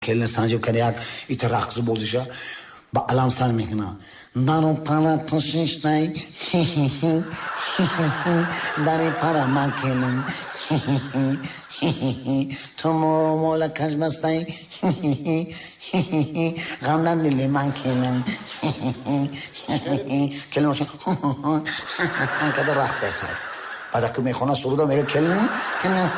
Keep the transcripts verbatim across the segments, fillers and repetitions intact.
Келин санҷиб кани як ита рақсу бозиша ба алам сар мекунад. Дару пара тушиштай, дари пара ман келин, ту моро мола каш бастай, ғам дар дили ман келин. Келин боша када рақс берсад. Баъд аку мехона суруда мега келин, келин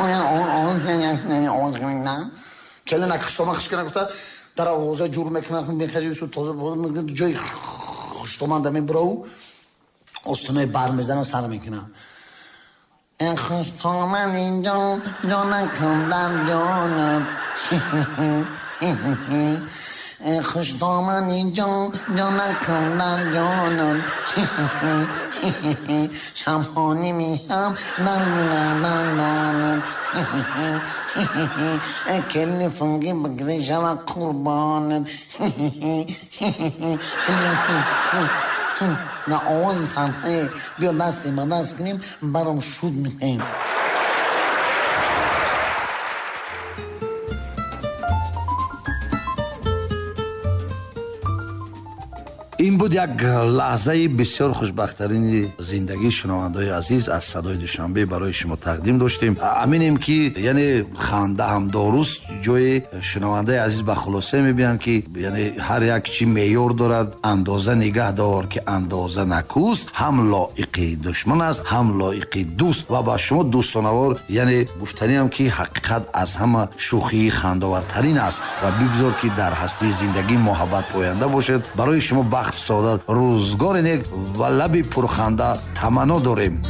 келин ака хуштоман хиш кана гуфта дар овоза ҷур мекунад, мехаҷи тоза ҷои хуштоман да мебурав, остинои бар мезанад, сар мекунад. Эн хуштоман инҷо ҷонакам дар ҷонат, эн хуштоман инҷо ҷонакам дар ҷонат, шамҳонӣ мешам дар дилам, келини фунги бигри шава қурбонат. На овози сарҳае биё дасти ба даст кунем, баром шуд мехоҳем. Ин буд як лаҳзаи бисёр хушбахттарини зиндагии шунавандаҳои азиз аз садои Душанбе барои шумо тақдим доштем. Аминем ки яъне ханда ҳам доруст, ҷои шунавандаи азиз ба хулоса мебинанд ки яъне ҳар як чи меъёр дорад, андоза нигаҳ дор ки андоза накӯст, ҳам лоиқи душман аст, ҳам лоиқи дӯст. Ва ба шумо дӯстонавор яъне гуфтаниам ки ҳақиқат аз ҳама шӯхии хандовартарин аст ва бигзор ки дар ҳастии зиндагӣ муҳаббат поянда бошад. Барои шумо бахт, саодат, рӯзгори нек ва лаби пурханда таманно дорем.